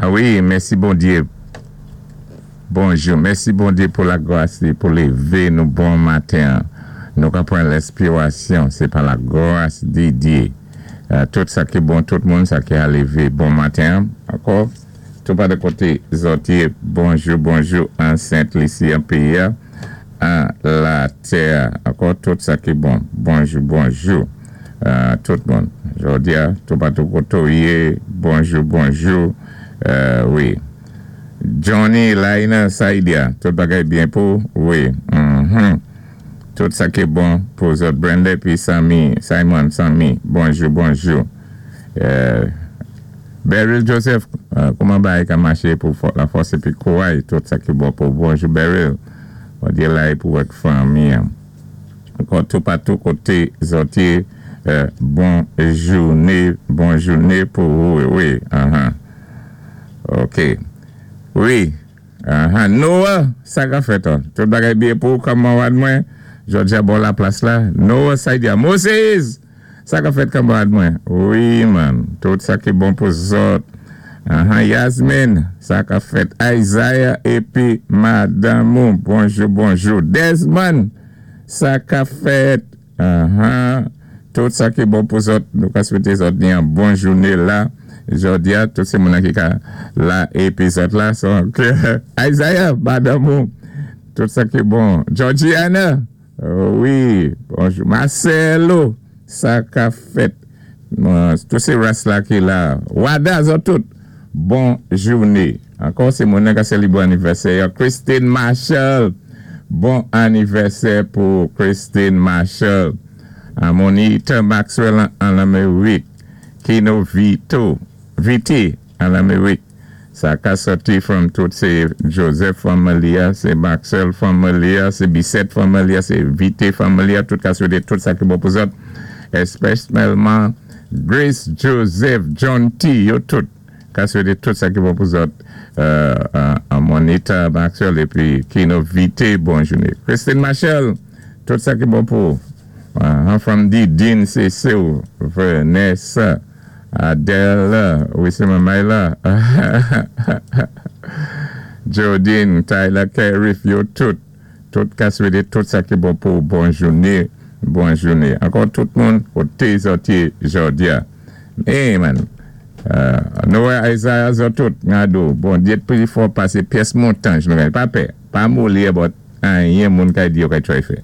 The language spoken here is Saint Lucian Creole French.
Wi, mèsi Bondyé. Bonjou. Mèsi Bondyé pou lagras li, pou lévé nou bon maten. Nou ka pran lèspirasyon, sé pa lagras di Dyé. Tout sa ki bon, tout moun sa ki a lévé bon maten. Ankò, tou pa de koté zòt yé. Bonjou, bonjou, an Sent Lisi, an péyi, an latè. Ankò, tout sa ki bon. Bonjou, bonjou, tout moun. Jòdi a, tou patou koté ou yé. Bonjou, bonjou. Wi. Johnny, Laina, Saidia, tout bagay byen pou? Wi. Tout sa ki bon pou zòt. Brenda pi Sami, Simon, Sami, bonjou, bonjou. Beryl Joseph, kouman bagay ka maché pou lafòs épi kouray, tout sa ki bon pou. Bonjou, Beryl. Bondyé la pou ak fanmi. Ankò tou patou koté zòt yé, bon jouné, bon jouné pou ou, wi. Ok. Wi. Noah, sa ka fèt an? Tout bagay byen pou kanmarad mwen? Georgia bò la plas la. Noah Saidia. Moses! Sa ka fèt, kanmarad mwen? Wi, man. Tout sa ki bon pou zòt. Yasmine, sa ka fèt? Isaiah épi madanm ou. Bonjou, bonjou. Desmond, sa ka fèt? Tout sa ki bon pou zòt, nou ka swété zòt ni an bon jouné la. Jòdi a, tout sé moun ki ka la épi zòt la. So, Isaiah, madanm ou. Tout sa ki bon. Georgiana, wi, bonjou. Marcelo, sa ka fèt? Tout sé ras la ki la. Wada, zòt tout. Bon jouné. Ankò sé moun ka sélébré anivèsè. Christine Marshall. Bon anivèsè pou Christine Marshall. Monita Maxwell an Lamérik. Kino Vito. Viti an Lamérik. Sa ka sòti from tout sé Joseph family, sé Maxwell family, sé Bissett family, sé Vite family, tout ka swété tout sa ki bon pou zòt. Espesyalman Grace Joseph, John T, yo tout. Ka swété tout sa ki bon pou zòt. Monita Maxwell épi Kino Vite, bon jouné. Christine Marshall, tout sa ki bon pou. From D. Dean Cecil, Vanessa, Adele, wi sé manmay la. Jodine, Tyler Kerif, yo tout. Tout ka swété tout sa ki bon pou bon jouné, bon jouné. Ankò tout moun koté zòt yé jòdi a. Hey man. Noah Isaiah zòt tout, ngado, Bondyé pi fò pasé pyès montanj nou pa pè. Pa moli about anyen moun kay di yo kay try fè.